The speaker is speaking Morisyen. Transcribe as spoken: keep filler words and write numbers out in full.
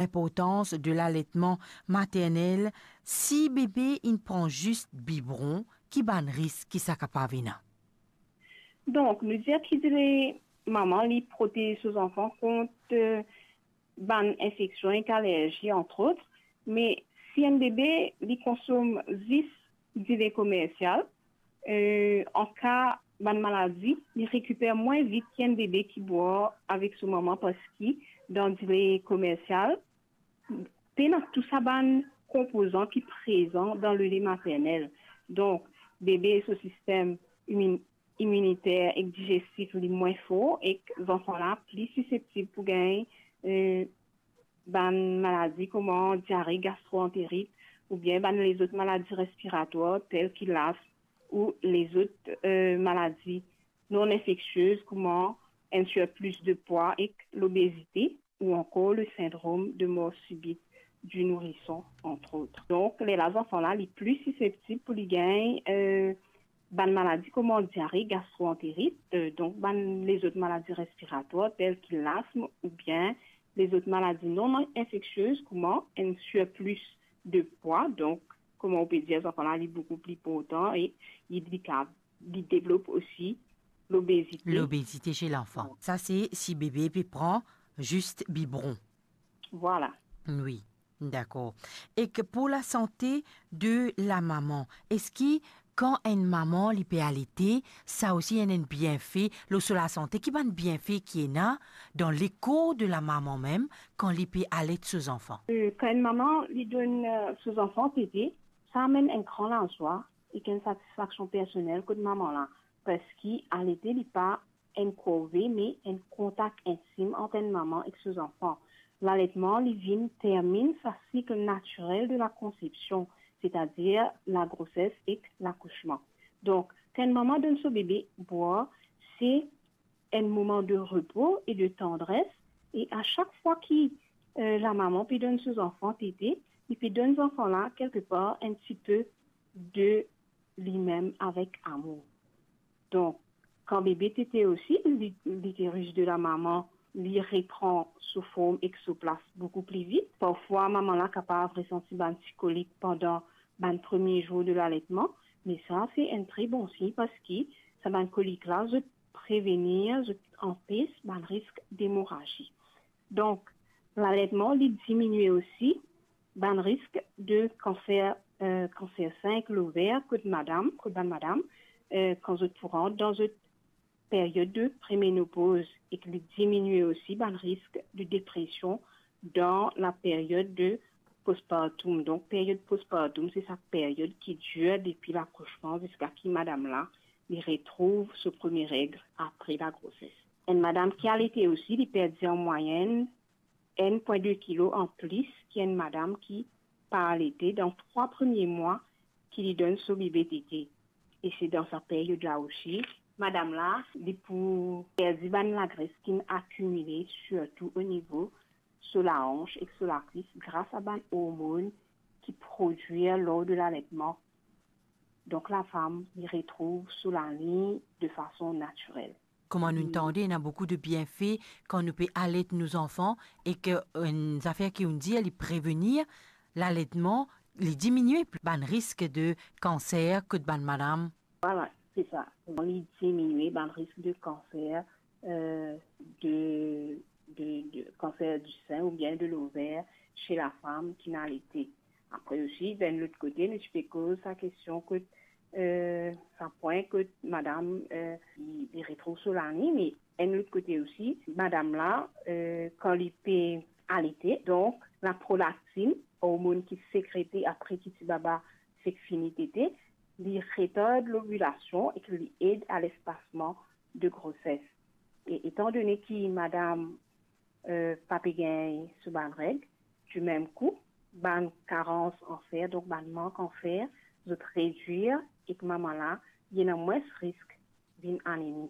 linportans de laletman maternel, si bebe inn pran zis bibron, ki bann risk ki sa kapav ena? Donk, nou dir ki dile mama li protez so zanfan kont, eh, bann infeksion ek alerzi, antrot, me si enn bebe li konsom zis dile komersial, eh, an ka bann maladi, li rekiper mwin vit ki enn bebe ki bwar avek so mama, parski dan dile komersial, pena tou sa bann konpozan ki prezan dan lele maternel. Donk, bebe so sistem imin-, iminiter ek digestif li mwin for, ek zanfan la pli siseptib pou gagn, eh, bann maladi kouma diare, gastroanterit, oubien bann lezot maladi respiratwar tel ki lasm ou lezot, eh, maladi non infeksiez kouma enn surplis de pwa ek lobezite, ou ankor le sindrom de mor sibit di nourison, antrot. Donk, lerla zanfan la li pli siseptib pou li gagn, eh, bann maladi kouma diare, gastroanterit, eh, donk bann lezot maladi respiratwar tel ki lasm oubien lezot maladi non infeksiez kouma enn surplis de pwa. Donk, kouma ou pe dir, zanfan la li boukou pli portan e li, li kav-, li devlop osi lobezite. Lobezite chez l'enfant. Sa se si bebe pe pran zis bibron. Vwala. Wi, dakor. Ek pou lasante de lamama, eski kan enn mama li pe alete, sa osi ena enn bienfe lor so lasante? Ki bann bienfe ki ena dan lekor de lamama mem kan li pe alet so zanfan? Eh, kan enn mama li donn, eh, so zanfan tete, sa amenn enn gran lazwa ek enn satisfaksion personel kot mama la, parski alete li pa enn korve, me enn kontak intim ant enn mama ek so zanfan. Laletman li vinn terminn sa sik natirel de lakonsepsion, setadir lagroses ek lakousman. Donk, kan enn mama donn so bebe bwar, se enn moman de repo e de tandres, e a sak fwa ki, eh, lamama pe donn so zanfan tete, li pe donn zanfan la kelkepar enn tipe de limem avek amour. Donk, kan bebe tete osi, li-, literis de lamama, li repran so form ek so plas boukou pli vit. Parfwa, mama la kapav resanti bann ti kolik pandan bann premie zour de laletman, me sa se enn tre bon sign, parski sa bann kolik la, zot prevenir, zot anpes bann risk demorazi. Donk, laletman, li diminie osi bann risk de kanser, eh, kanser sin ek lover kot madam, kot bann madam, eh, kan zot pou rant dan zot period de premenopoz, ek li diminie osi bann risk de depresion dan laperiod de postpartum. Donk, period postpartum, se sa period ki dir depi lakousman ziska ki madam la, li retrouv so premie reg apre lagroses. Enn madam ki alete osi, li perdi an mwayenn enn pwin de kilo anplis ki enn madam ki pa alete dan trwa premie mwa ki li donn so bebe tete. E se dan sa period la osi, madam la, li pou perdi bann lagres ki'nn akimile, sirtou o nivo so laanz ek so lakwis, gras a bann ormonn ki prodwir lor de laletman. Donk, lafam, li retrouv so laliny de fason natirel. Kouma nou tande, ena boukou de bienfe kan nou pe alet nou zanfan, e ke, eh, enn zafer ki ou'nn dir, li prevenir laletman, li diminie bann risk de kanser kot bann madam. Vwala, se sa. Li diminie bann risk de kanser, eh, de, de, de kanser di sin oubien de lover se lafam ki'nn alete. Apre osi, dan lot kote, nou ti pe koz sa kestion kot, eh, sa pwin kot madam, eh, li, li retrouv so laliny, me enn lot kote osi, madam la, eh, kan li pe alete, donk, laprolaktin, ormonn ki sekrete apre ki tibaba fek fini tete, li retard lovilasion ek li ed a lespasman de groses. E etandone ki madam, eh, pa pe gagn so bann reg, di mem kou, bann karans an fer, donk bann mank an fer, zot redwir ek mama la, li ena mwins risk vinn anemi.